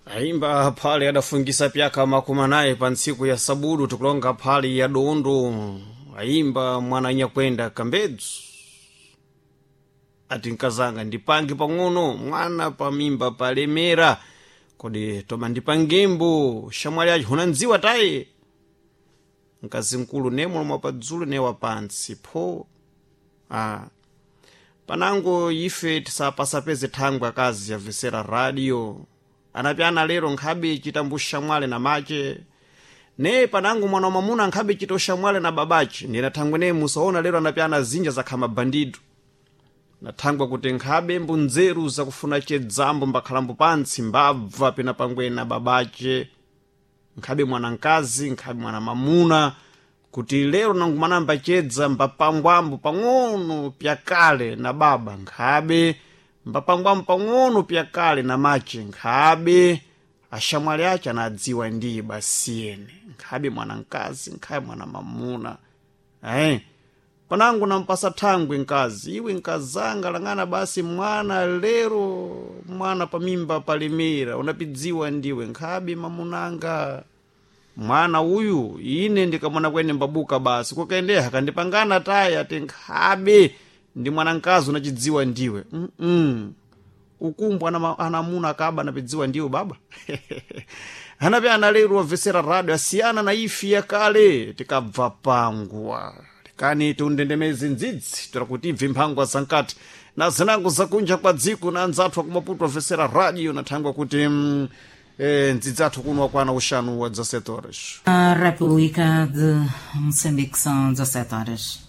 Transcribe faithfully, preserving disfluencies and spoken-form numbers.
Aimba phale adafungisa pyaka makumi anayi pa ntsiku ya sabudu tikulonga phale ya dondo. Aimba mwana anyakwenda kambedzu ati nkazanga ndipange pang'ono mwana pamimba palemera kodi toma ndipangembo shamwali acho hunandziwa tayi mkazi mkulu ne mulomo padzulo ne wapantsi pho ah. Panango ife tisapasapeze thangwe akazi yavesera radio anapyana lero nkhabe chitambu shamwale na mache ne panango mwana wamamuna nkhabe chita ushamwale na babache ndina thangwe ne musaona lero anapyana zinja zakha mabandido nathangwa kuti nkhabe mbunzeru zakufuna chedzambo mbakhalambo pantsi mbabva pena pangwena babache nkhabe mwanamkazi nkhabe mwana mamuna kuti lero nangumanamba chedza mbapangwambo pang'ono pyakale na baba nkhabe mbapangwambo pang'ono pyakale na mache nkhabe ashamwali ache anadziwa ndiye basiyene nkhabe mwanamkazi nkhabe mwana mamuna eh panangu nampasa thangwe nkazi iwe nkazanga lang'ana basi mwana lero mwana pamimba palemera unapidziwa ndiwe nkhabe mamunanga mwana uyu ine ndikamona kwene mbabuka basi kukaendeha kandipangana tayi ati nkhabe ndi mwanamkazi unachidziwa ndiwe mm -mm. Ukumbu ana, anamuna akaba anapidziwa ndiwe baba anape analero wavesera radio asiyana na ifi yakale tikabva pangwa kani tiundendemeze ndzidzi toera kuti ibve mphangwa zankati na zinango zakunja kwa dziko na anzathu akumaputo avesera radio nathangwa kuti mm, eh, ndzidzi athu kuno wakwana uxanu wa dezessete horas. A República de Moçambique são dezassete horas.